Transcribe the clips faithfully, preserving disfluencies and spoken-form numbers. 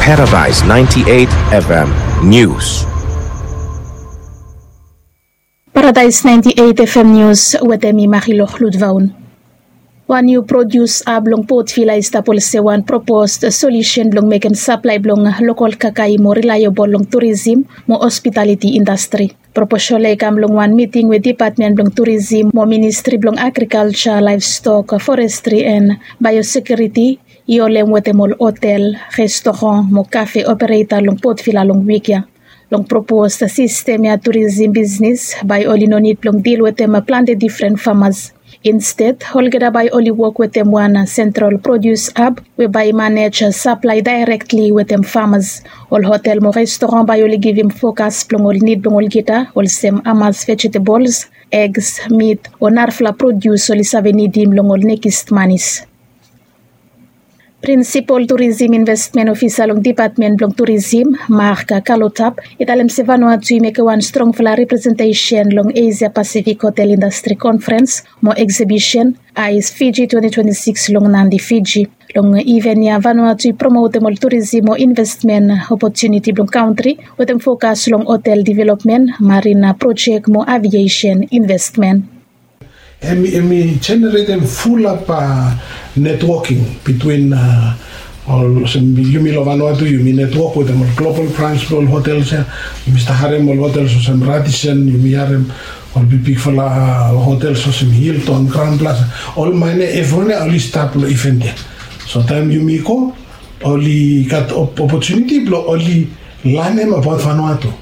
Paradise ninety-eight F M News. Paradise ninety-eight F M News wetem mi Marilok Lutvaun. Wan niu produs hab long Port Vila i stap olsem wan propos solusen blong mekem saplae blong lokol kakae i moa reliable long turisim mo hospitaliti indastri. Proposol ya i kam long wan miting we Dipatmen blong Turisim mo Ministri blong Agrikalja, Laevstok, Forestri and Biosekiuriti i holem wetem ol hotel, restoran mo kafe opereta long Port Vila long wik ya. Long propos sistem ya, turisim bisnis bae oli no nid blong dil wetem plante difren famas. Insted, olgeta bae oli wok wetem wan sentral produs hab we bae i manej saplae daerektli wetem famas. Ol hotel mo restoran bae oli givim fokas blong ol nid blong olgeta, olsem hamas vejetabols, egs, mit o narafala produs oli save nidim long ol nekis manis. Prinsipol Turisim Investmen Ofisa long Dipatmen blong Turisim, Mark Kalotap, i talem se Vanuatu i mekem wan strongfala representesen long Asia Pasifik Hotel Indastri Konfrens mo Eksibisen, AIES Fiji twenty twenty-six, long Nadi, Fiji. Long iven ya, Vanuatu i promotem ol turisim mo investmen opotuniti blong kantri wetem fokas long hotel developmen, marina projek mo aviesen investmen. Hem i jeneretem fulap netwoking bitwin ol, olsem yumi long Vanuatu, yumi netwok wetem ol global brans blong ol hotels ya. Yumi stap harem ol hotels olsem Radisson, yumi harem ol bigbigfala hotels olsem Hilton, Crowne Plaza, ol maine evriwan ya oli stap long iven ya. So taem yumi go, oli gat opotuniti blong oli lanem abaot Vanuatu.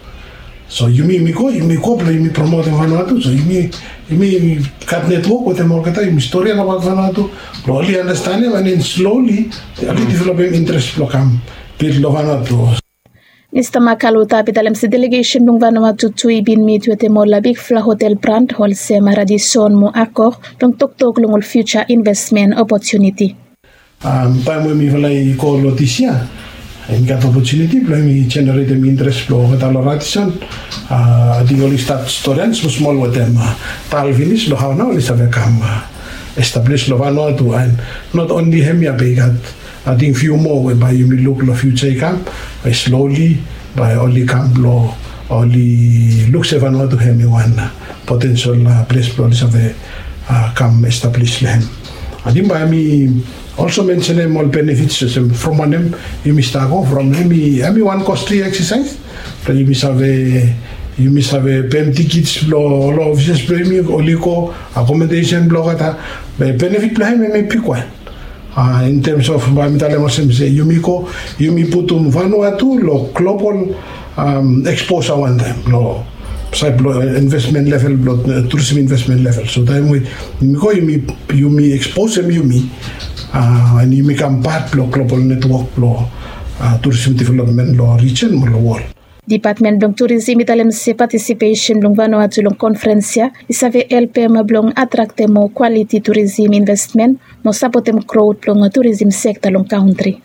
So yumi, yumi go, yumi go blong yumi promotem Vanuatu. So yumi, yumi gat netwok wetem olgeta, yumi storian abaot Vanuatu blong oli anastenem, and then slowly oli developem interes blong kam bil long Vanuatu. Mista Mark Kalotap i talem se delegesen blong Vanuatu tu i bin mit wetem ol bigfala hotel bran olsem Radisson mo Accor blong toktok long ol fiuja investmen opotuniti. Taem we mifala i go long dis yia, yumi gat opotuniti blong yumi jeneretem interes blong olgeta long Radisson. Ating oli stat storian smosmol wetem tal finis long hao nao oli save kam establis long Vanuatu, and not only hemia be i gat ating fiu moa we bae yumi luk long fiuja i kam, bae slowly bae oli kam blong oli luk se Vanuatu hemi wan potensel ples blong oli save kam establis long hem. Ating bae mi olso mensenem ol benefits olsem from wanem yumi stap go from, hemi wan kostli eksasaes. Blong yumi save, yumi save pem tikits blong ol ofises blong yumi oli go, akomodesen blong olgeta. Be benefit blong hem hemi bigwan. In terms of bae mi talem olsem se yumi go, yumi putum Vanuatu long global eksposa wantaem long saed blong investmen level, blong turisim investmen level. So taem we yumi go, yumi eksposem yumi, and yumi kam pat blong global netwok blong turisim developmen long rijen mo long wol. Dipatmen blong Turisim i talem se patisipesen blong Vanuatu long konfrens ya i save helpem blong atraktem moa kwaliti turisim investmen mo sapotem grot blong turisim sekta long kantri.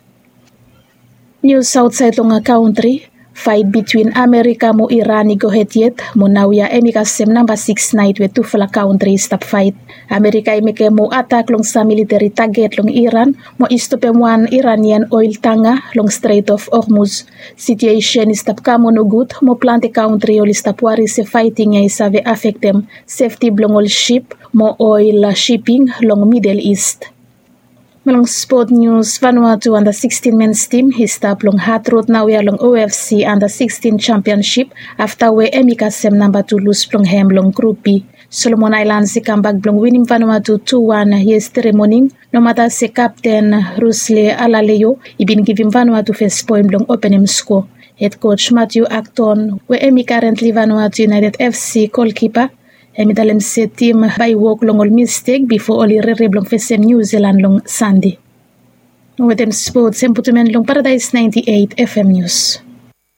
Nius aotsaed long kantri. Faet bitwin Amerika mo Iran i gohed yet mo naoia hemi kasem namba sikis naet we tufala kantri i stap faet. Amerika i mekem moa atak long sam militeri taget long Iran mo i stopem wan Iranian oel tanga long Strait of Hormuz. Situesen i stap kam moa nogud mo plante kantri oli stap wari se faeting ya i save afektem sefti blong ol sip mo oel siping long Midel Ist. Mo long spot nius, Vanuatu anda sikstin mens tim i stap long hat rod naoia long O F C anda sikstin jampionsip afta we hemi kasem namba tu lus blong hem long Grup B. Solomon Aelans i kambak blong winim Vanuatu tu wan yestede moning, nomata se kapten Rusle Alaleo i bin givim Vanuatu fes poen blong openem skoa. Hed koj Matthew Acton we hemi karentli Vanuatu United F C golkipa, hemi talem se tim bae i wok long ol mistek bifo oli rere blong fesem Niu Silan long Sande. Wetem spots, hem putum en long Paradaes naenti eit F M Nius.